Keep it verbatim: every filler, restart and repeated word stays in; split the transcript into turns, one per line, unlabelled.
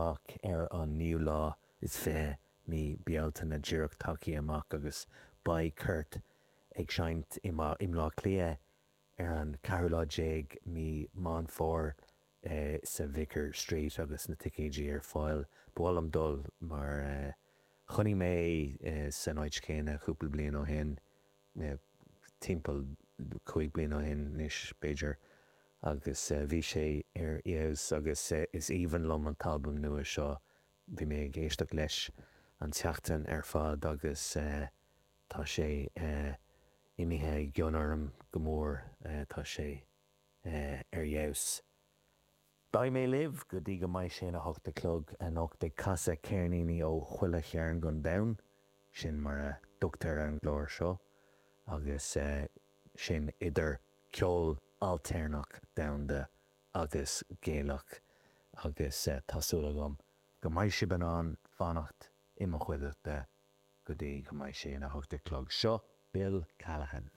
amach ar an naoú lá is fiche mí Bealtaine díreach tagtha amach agus beidh Kurt ag seinnt i mBleá Cliath ar an ceathrú lá déag mí Meán Fómhair sa Vicar Street agus na ticéidí ar fáil. Ba mhaith liom dul mar chonaic mé san áit chéanna cúpla bliain ó shin, timpeall cúig bliana ó shin anois b'fhéidir, agus bhí sé ar fheabhas agus is aoibhinn liom an t-albam nua seo. Bhí mé ag éisteacht leis an tseachtain ar fad agus tá sé imithe i gcion orm go mór, tá sé ar fheabhas. Beidh mé libh go dtí go mbeidh sé ina hocht a chlog anocht ag casadh ceirníní ó chuile chearn den domhan, sin mar a dtugtar ar an gclár seo, agus sin idir ceol ailtéarnach domhanda agus Gaelach agus tá súil agam go mbeidh sibh in ann fanacht i mo chuideachta go dtí go mbeidh sé ina hocht a chlog. Seo Bill Callahan.